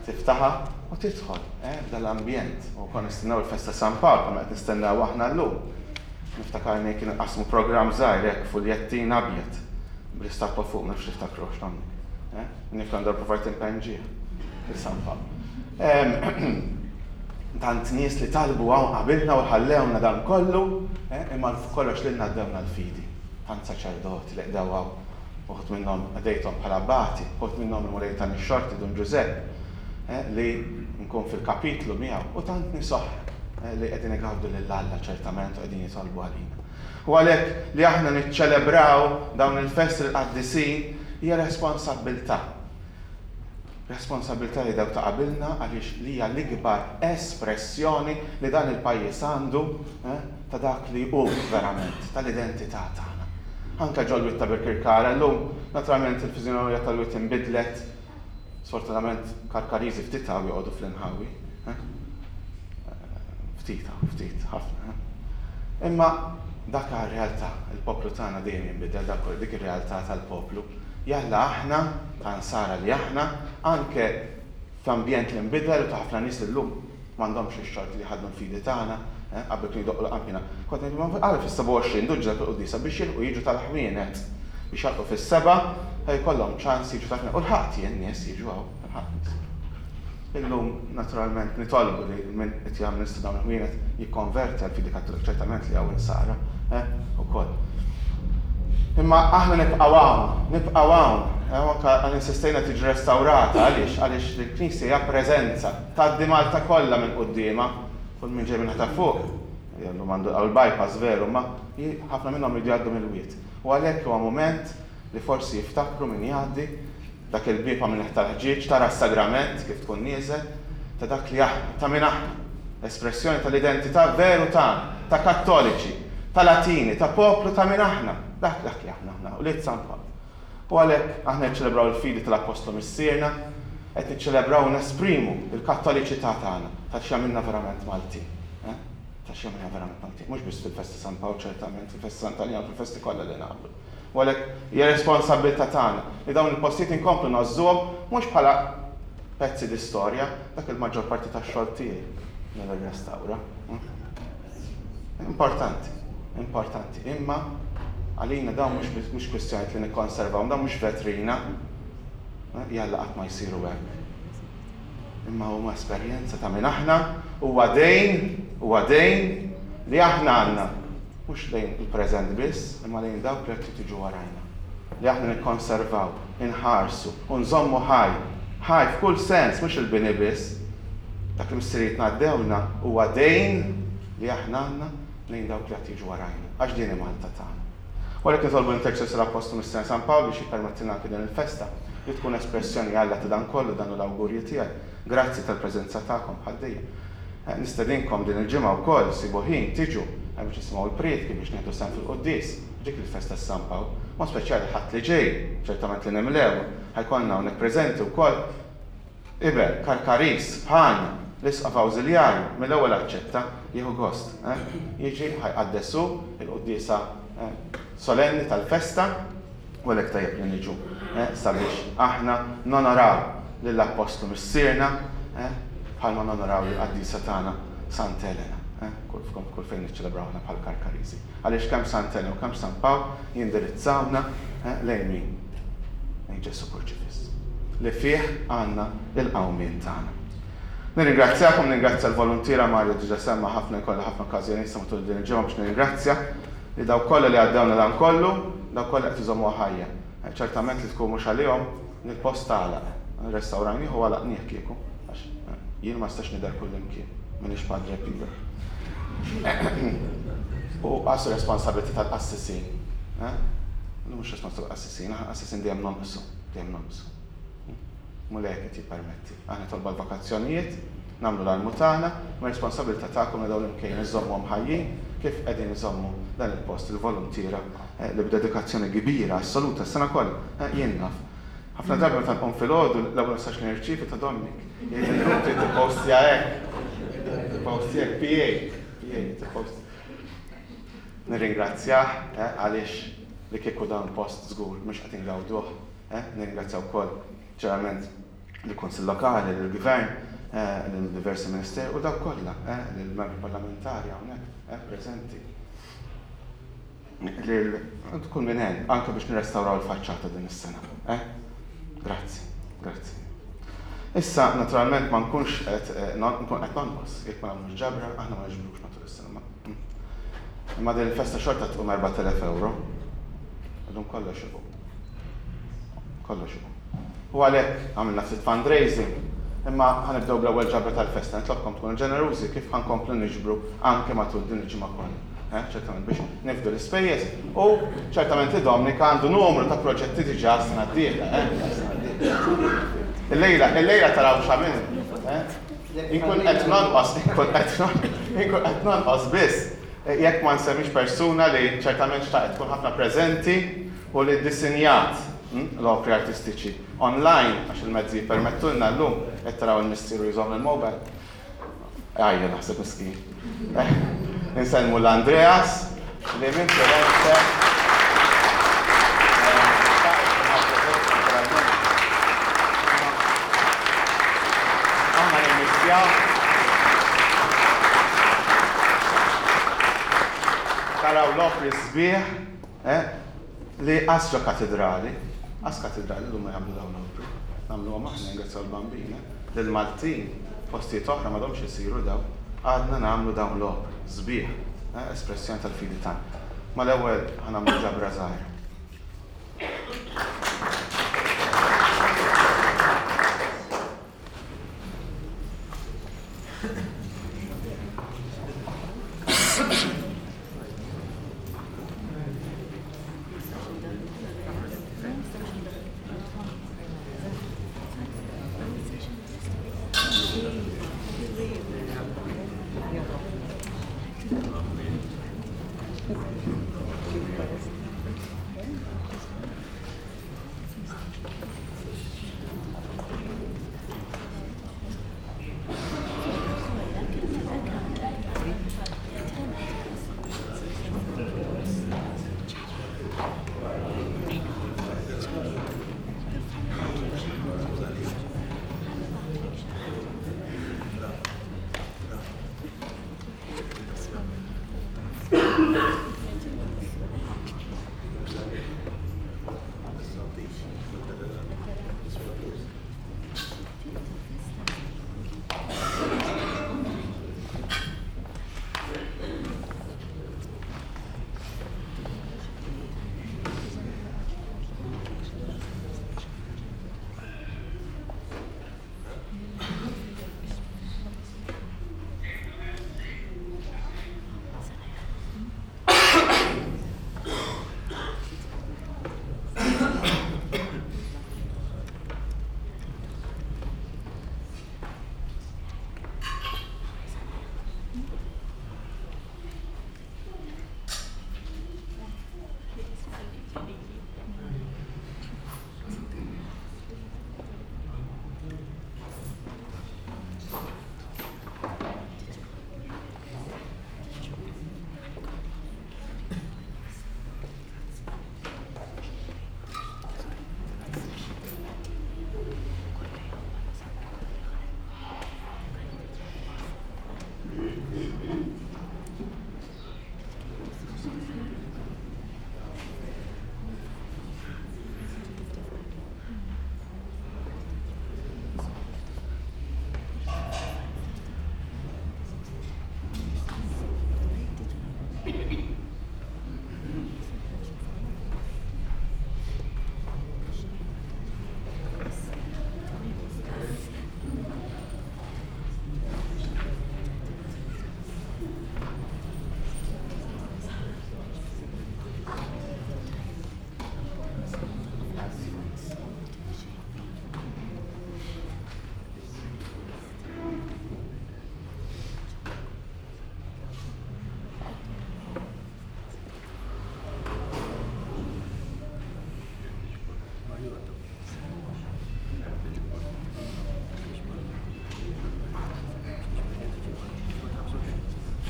Tiftaħha u tidħol f'dan l-ambjent. U konna nistennew il-festa San Pawl bħalma qed nistennew aħna llum. Niftakarni kien qasmu programm żgħir hekk fuljettin abjad bl-istatwa fuq, ma nafx tiftakruhx hawnhekk. Niftakar darba provajt inpenġih lil San Pawl. Tant nies li talbu hawn qabilna u ħallewna dan kollu, imma fuq kollox lilna għaddewna l-fidi. Tant saċerdoti li qdew hawn, uħud minnhom qdejthom bħala abbati, uħud minnhom il-Mulej tani x-xorti Dun Ġużepp li nkun fil-kapitlu miegħu, u tant nies oħra li qegħdin igawdu lil Alla ċertament u qegħdin jitolbu għalina. U għalhekk li aħna niċċelebraw dawn il-festi l-qaddisin hija responsabbiltà. Responsabbiltà li dawk ta' qabilna għaliex li hija l-ikbar espressjoni li dan il-pajjiż għandu ta' dak li hu verament, tal-identità tagħna. Anke ġol-Wied ta' Birkirkara llum, naturalment il-fiżjonomija tal-wied inbidlet, sfortunatament Karkariżi ftit hawn joqogħdu fl-inħawi. Ftit hawn, ftit, ħafna. Imma dak realtà, il-poplu tagħna dejjem jinbidel, dak dik ir-realtà tal-poplu. Jalla aħna, ta' Nsara li aħna, anke f'ambjent li nbidel u ta' ħafna nies li llum m'għandhomx ix-xorti li jħaddnu l-fidi tagħna, qabel kienu jdoqqu l-qanpiena, kont ngħid imma għala fis-27 duġġa dak il-quddiesa biex jilħqu jiġu tal-ħwienet, biex jagħlqu fis-sebgħa ħalli jkollhom ċans jiġu tal-ħwienet. U lħaqt jien nies jiġu hawn, lħaqt nies. Illum, naturalment, nitolbu li min qed jamministra dawn il-ħwienet jikkonverti għall-fidi Kattolika, ċertament li hawn insara, eh, ukoll. Imma aħna nibqgħu hawn, nibqgħu hawn, eh, u anke għal insistejna tiġi restawrata, għaliex? Għaliex l-Knisja hija preżenza, tgħaddi Malta kollha minn quddiemha, kull min ġej minn ta' fuq, illum għandu l-bypass veru, imma ħafna minnhom jridu jgħaddu mill-wied. U għalhekk huwa mument li forsi jiftakru min jgħaddi Dak il-bieb għamilnieh tal-ħġieġ, tara s-sagrament kif tkun nieżel, ta' dak li aħna, ta' min aħna. Espressjoni tal-identità veru tagħna, ta' Kattoliċi, ta' Latini, ta' poplu ta' min aħna. Dak dak li aħna aħna, ulied San Pawl. U għalhekk aħna niċċelebraw il-fidi tal-Appostlu Missierna, qed niċċelebraw u nesprimu l-Kattoliċità tagħna, ta' x'jagħmilna verament Maltin. Eh? Ta' x'jagħmilna verament Maltin. Mhux biss fil-festa San Pawl ċertament, fil-festa Sant'Aljan, fil-festi kollha li nagħmlu. U għalhekk hija responsabbiltà tagħna li dawn il-postijiet inkomplu ngħożżuhom mhux bħala pezzi di storja, dak il-maġġor parti tax-xogħol tiegħi li nirrestawra. Importanti, importanti, imma għalina dawn mhux kwistjoni li nikkonservawhom, dawn mhux vetrina, jalla qatt ma jsiru hekk. Imma huma esperjenza ta' min aħna, huwa dejn, huwa dejn li aħna għandna mhux lejn il-preżent biss, imma lejn dawk li qed jiġu warajna. Li aħna nikkonservaw, inħarsu u nżommu ħaj, ħaj f'kull sens, mhux il-bini biss. Dak li missirijietna għaddewlna huwa dejn li aħna għandna lejn dawk li qed jiġu warajna, għax din hi Malta tagħna. U għalhekk nitolbu l-interċessju l-Appostlu Missierna San Pawl biex jippermettilna anke din il-festa li tkun espressjoni Alla ta' dan kollu, dan hu l-awgurju tiegħi. Grazzi tal-preżenza tagħkom bħal dejjem. Nistedinkom din il-ġimgħa wkoll ssibu ħin tiġu biex nisimgħu l-prietki biex nieħdu sehem fil-quddies f'dik il-festa ta' San Pawl. Mod speċjali l-Ħadd li ġej, ċertament li nimlewha, ħa jkollna hawnhekk preżenti wkoll Iben, Karkaris, bħalna, l-Isqof Awżiljarju, mill-ewwel aċċetta, jieħu gost, eh? Jiġi, ħa jqaddes hu l-quddiesa, eh, solenni tal-festa, u għalhekk tajjeb li niġu, eh, sabiex aħna nonoraw lill-Appostlu Missierna, eh, bħalma nonoraw lill-qaddisa tagħna Sant'Elena, eh, kull, kull fejn niċċelebraw aħna bħal Karkariżi. Għaliex kemm Sant'Elena u kemm San Pawl jindirizzawna, eh, lejn min? Lejn Ġesù Kurċifiss, li fih għandna l-qawmien tagħna. Nirringrazzjakom, nirringrazzja l-voluntiera, Mario diġà semma ħafna, jkolli ħafna okkażjonijiet sa matul din il-ġimgħa biex nirringrazzja li dawk kollha li għaddewna dan kollu, dawk kollha qed iżommuha ħajja. Ċertament li tkun mhux għalihom, il-post għalaq. Restawrajnih u għalaqnih kieku, għax jien ma nistax nidher kullimkien, m'iniex Padre Pio. U qas responsabilità tal-qassisin. Mhux responsabilità tal-qassisin, aħna qassisin dejjem nonqsu, dejjem nonqsu. Mulej hekk qed jippermetti. Aħna nitolbu għall-vokazzjonijiet, nagħmlu l-almu tagħna, imma responsabilità tagħkom li dawn l-imkejjen iżżommuhom ħajjin kif qegħdin iżommu dan il-post il-voluntiera li b'dedikazzjoni kbira assoluta s-sena kollha. Jien naf. Ħafna drabi meta nqum filgħodu l-ewwel messaġġ li nirċievi ta' Dominic. Jgħidli trid tippostja hekk. Tippostja hekk PA. PA tippost. Nirringrazzjah għaliex li kieku dan il-post żgur mhux qed ingawduh. Nirringrazzja wkoll ċerament lill-Kunsill Lokali, lill-Gvern, lil diversi ministeri u dawk kollha, lill-membri parlamentari hawnhekk preżenti. Lil kull min għen anke biex nirrestawraw il-faċċata din is-sena. Grazzi, grazzi. Issa, naturalment, ma nkunx qed nkun qed nonqos jekk ma nagħmlux ġabra, aħna ma niġbrux matul is-sena. Imma din il-festa xorta tqum 4000 euro. Illum kollox iqum. Kollox iqum. U għalhekk għamilna ftit fundraising, imma ħa nibdew bl-ewwel ġabra tal-festa. Nitlobkom tkunu ġenerużi kif ħa nkomplu niġbru anke matul din il-ġimgħa kollha. Eh, ċertament biex nifdu l-ispejjeż u ċertament li Dominic għandu numru ta' proġetti diġà sena d-dieħla, eh, sena d-dieħla. Illejla, illejla taraw x'għamilna. Eh? Inkun qed nonqos, inkun qed inkun qed nonqos biss jekk ma nsemmix persuna li ċertament xtaqet tkun ħafna preżenti u li ddisinjat l-opri artistiċi online, għax il-mezzi jippermettulna llum, qed taraw il-missieru jżomm il-mobile. Għajja naħseb miskin. Insellmu l-Andreas li minn Firenze Aħna nimmissjaw. Taraw l-opri sbieħ Eh? Li qas ġo katidrali, qas katidrali llum ma jagħmlu dawn l-opri. Nagħmluhom aħna ningrazzjaw l-Bambin, eh? Lill-Maltin, postijiet oħra m'għadhomx isiru dawn. Għadna nagħmlu dawn l-opri, sbieħ, eh? Espressjoni tal-fidi tagħna. Mal-ewwel ħa nagħmlu ġabra żgħira.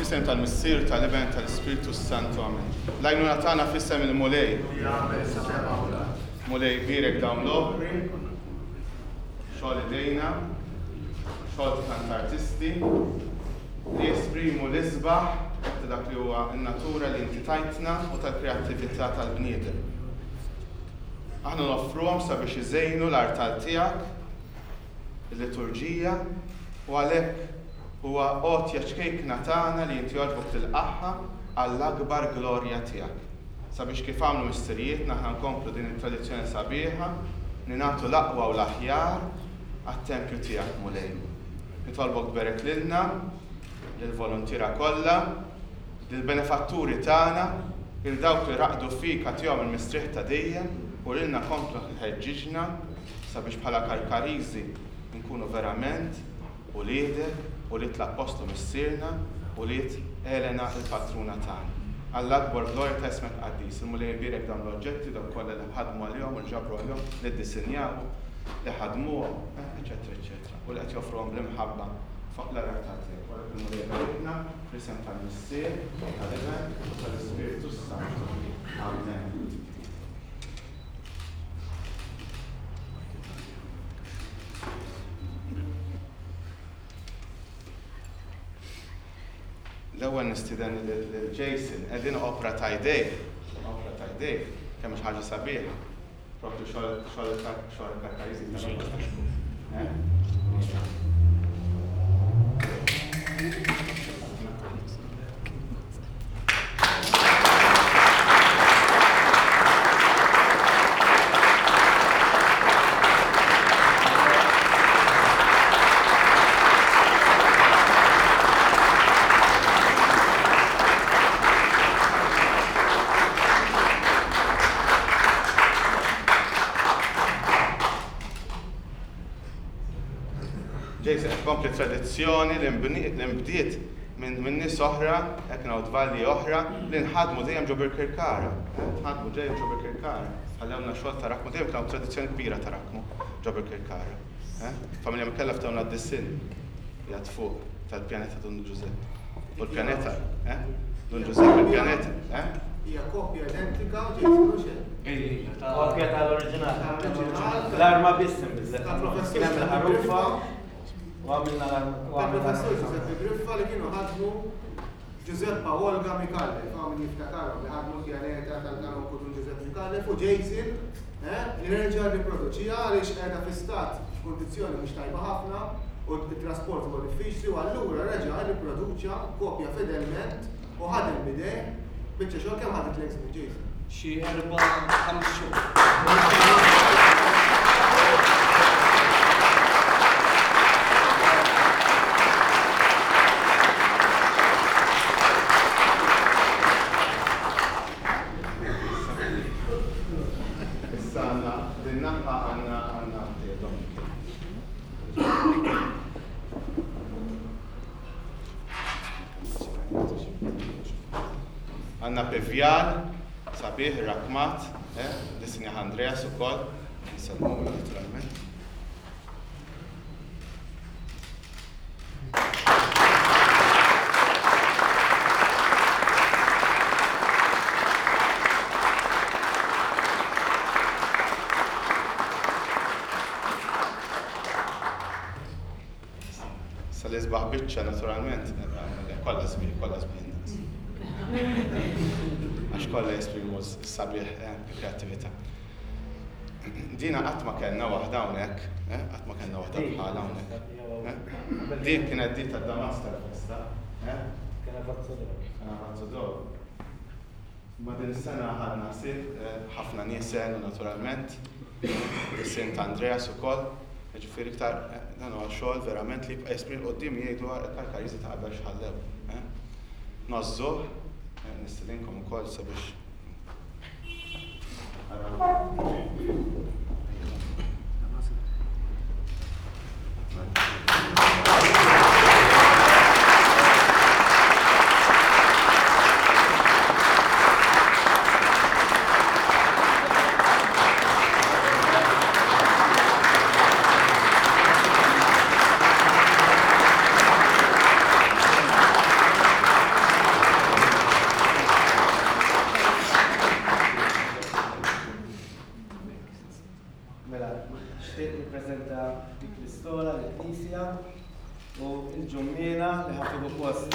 F'isem tal-Missier, tal-Iben, tal-Ispirtu s-Santu. Amen. L-għajnuna tagħna f'isem il-Mulej. Mulej bierek dawn l-opri, xogħol idejna, xogħol ta' tant artisti, li jesprimu l-isbaħ ta' dak li huwa n-natura li inti tajtna u tal-kreattività tal-bniedem. Aħna noffruhom sabiex iżejnu l-artal tiegħek, il-liturġija, u għalhekk huwa għotja ċkejkna tagħna li inti għoġbok tilqagħha għall-akbar glorja tiegħek. Sabiex kif għamlu missirijietna aħna nkomplu din it-tradizzjoni sabiħa li nagħtu l-aqwa u l-aħjar għat-tempju tiegħek, Mulej. Nitolbok tberek lilna, lill-voluntiera kollha, lill-benefatturi tagħna, lil dawk li raqdu fik agħtihom il-mistrieħ ta' dejjem u lilna komplu ħeġġiġna sabiex bħala Karkariżi nkunu verament uliedek, ulied l-Appostlu Missierna, ulied Elena il-Patruna tagħna. Għall-akbar glorja ta' ismek qaddis. Il-Mulej ibierek dawn l-oġġetti, dawk kollha li ħadmu għalihom u nġabru għalihom, li ddisinjawhom, li ħadmuhom, eċċetera eċċetera, u li qed joffruhom bl-imħabba fuq l-artal tiegħek. U għalhekk il-Mulej iberikna fl-isem tal-Missier, tal-Iben u tal-Ispirtu s-Santu. Amen. L-ewwel nistieden lil Jason, qegħdin opra ta' jdejh, opra ta' jdejh, kemm mhux ħaġa sabiħa. Propju xogħol xogħol xogħol Karkariżi ta' Jason qed tkompli tradizzjoni li nbdiet minn nies oħra, hekk ngħid valli oħra, li nħadmu dejjem ġo Birkirkara. Nħadmu dejjem ġo Birkirkara. Ħallewna xogħol ta' Rakmu, dejjem kien hawn tradizzjoni kbira ta' Rakmu ġo Birkirkara. Familja Mikella ftewna d-disinn qiegħed fuq tal-pjaneta Dun Ġużepp. U l-pjaneta, eh? Dun Ġużepp il-pjaneta, eh? Hija kopja identika, Jason, mhux hekk? Kopja tal-oriġinal. L-arma biss inbidlet. Kien hemm il-ħarufa u għamilna l-arma. Tal-professur Giuseppe Griffa li kienu ħadmu Giuseppa u Olga Micallef, hawn min jiftakarhom li ħadmu l-pjaneta tal-kanonku Dun Giuseppe Micallef u Jason eh, li reġa' rriproduċiha għaliex qiegħda fi stat f'kundizzjoni mhux tajba ħafna u t-trasport huwa diffiċli u allura reġa' rriproduċa kopja fedelment u ħadem b'idejh biċċa xogħol kemm ħaditlek żmien Jason? Xi erba' ħames xhur. Issa għandna din naħa għandna għandna Għandna pivjal sabiħ irrakkmat, eh, disinjah Andreas ukoll, nsellmulu naturalment. Issa l-isbaħ biċċa naturalment, kollha sbieħ, kollha sbieħ indaqs. Għax kollha jesprimu s-sabiħ eh, il-kreattività. Dina qatt ma kellna waħda hawnhekk, eh, qatt ma kellna waħda bħala hawnhekk. Eh. Din kienet di tad-Damas tal-festa. Kien Avazzo d'Oro. Kien Avazzo d'Oro. Imma din is-sena ħadna ħsieb, ħafna nies għenu naturalment, is-sin ta' Andreas ukoll, jiġifieri iktar dan huwa xogħol verament li jibqa' jesprimi 'l quddiem jgħidu il-Karkariżi ta' qabel x'ħallew. Ngħożżuh, nistedinkom ukoll sabiex taraw. Nixtieq nippreżenta dik l-istola lill-Knisja u l-ġummiena li ħa tieħu post